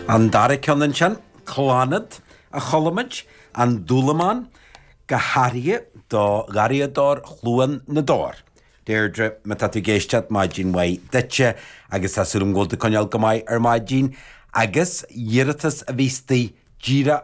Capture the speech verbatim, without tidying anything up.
An dara ceann ansin, Clannad a chuala muid, An Dúlamán, go háirithe do gharraíodóir Chluain na dTor. Deirdre, má tá tú ag éisteacht maidin mhaith duitse agus tá súil agam go bhfuil tú ag coinneáil go maith ar maidin, agus iarratas a bhí istigh díreach